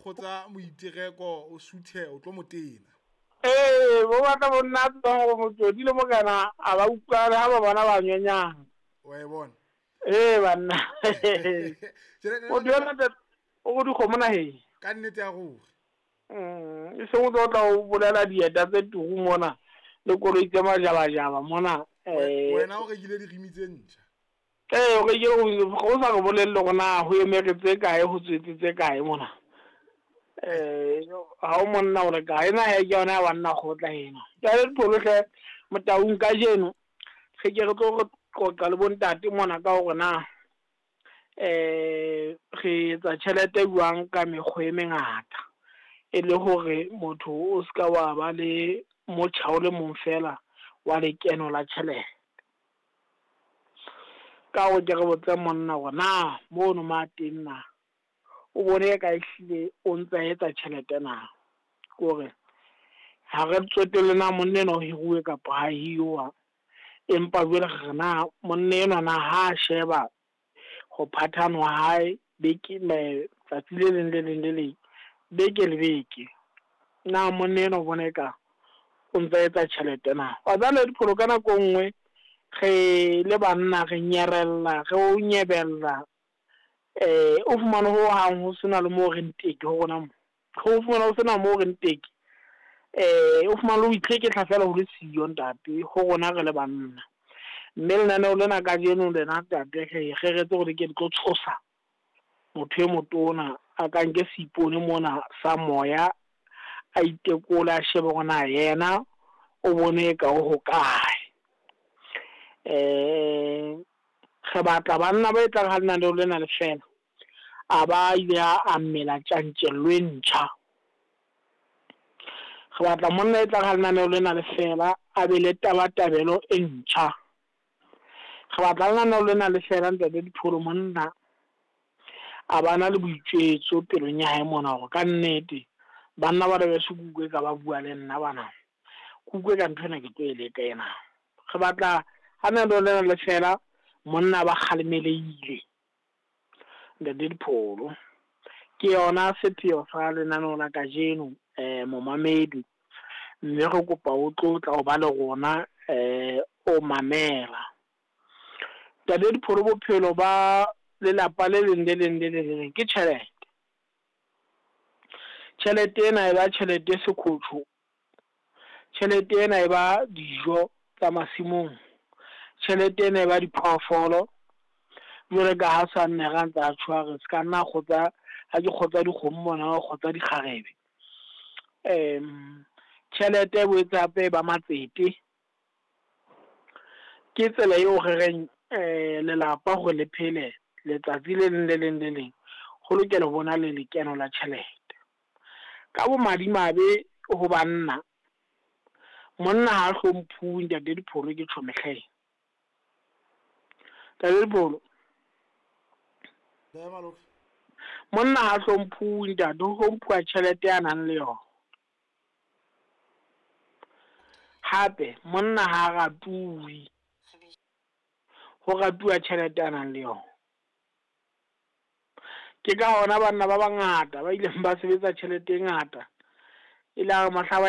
kgotsa moitereko o suthe o tlo motena. Ee, bo batla bo nna tsebang gore Motsodi le Mokana a ba utlwane ha ba bona ba nyonyana. Wa e bona. Ee banna. Motho yona o go dikgomo naheng. Ka nnete ya ruri. E seng o tlo tla o bolela dieta tse turu mona le koloi tse majabajaba mona. Wena o rekile dirimi tse ntjha. Ee, o rekile go sa re bolelle gore na ho emere tse kae, ho tswetse tse kae mona. Ha o monna o re kae na he ke yona ya banna kgotla ena. Jwale Dipholo hle Motaung kajeno re ke re tlo re qoqa le bontate mona ka hore na re etsa tjhelete jwang ka mekgwa e mengata, e le hore motho o ska wa ba le motjha o le mong fela wa lekeno la tjhelete. Ka hore ke re botse monna hore na mono ma teng na o bone ka ehlile o ntsa etsa tjhelete na, kore ha re tsotelle na monna enwa o hiruwe kapa ha hiruwa, empa jwale re na monna enwa na ha sheba ho phathana wa hae beke tsatsi le leng le leng le leng beke le beke, na monna enwa o bona eka o ntsa etsa tjhelete na. Wa tseba Dipholo ka nako nngwe re le banna re nyerella, re o nyebella, o fumane ho hang ho sena le moo re nteke ho rona mo, ho fumane ho sena moo re nteke, o fumane le ho itlhekehla fela ho le siyo ntate ho rona re le banna. Mme lenaneo lena kajeno lena ntate re reretse hore ke tlo tshosa motho e motona a ka nke seipone mona sa moya, a itekole a shebe hore na yena o bone ka o hokae. Re batla banna ba etlang ha lenaneo lena le fela a ba ile a mmela tjantjello e ntjha. Re batla monna e tlang ha lenaneo lena le fela a be le tabatabelo e ntjha. Re batla lenaneo lena le fela ntate Dipholo monna a bana le boitjwetso pelong ya hae mona hore ka nnete banna ba beso kuku e ka ba bua le nna bana, kuku e ka nthwena ke tlo e leka ena. Re batla ha lenaneo lena le fela monna ba kgalemelehile ntate Dipholo. Ke yona sepheo sa lenaneo la kajeno momamedi, mme re kopa o tlotla o ba le rona o mamela. Ntate Dipholo, bophelo ba lelapa le leng le leng le le leng ke tjhelete. Tjhelete ena e ba tjhelete e sekhotho, tjhelete ena e ba dijo tsa masimong, tjhelete ena e ba diphoofolo. Jwale ka ha sa nne ra ntsa tjho re ska nna kgotsa ha ke kgotsa dikgomo mona o kgotsa dikgarebe. Tjhelete e boetse hape ba matsete. Ke tsela eo re reng lelapa hore le phele letsatsi le leng le leng le leng ho lokela ho bona le lekeno la tjhelete. Ka bomadimabe ho banna, monna ha hlomphuwe ntate Dipholo ke tjho mehleng. Ntate Dipholo, monna ha hlomphuwe ntate, ho hlomphuwa tjhelete ya nang le yona. Hape monna ha ratuwe, ho ratuwa tjhelete a nang le yona. Ke ka hona banna ba bangata ba ileng ba sebetsa tjhelete e ngata, e le ha mohla ba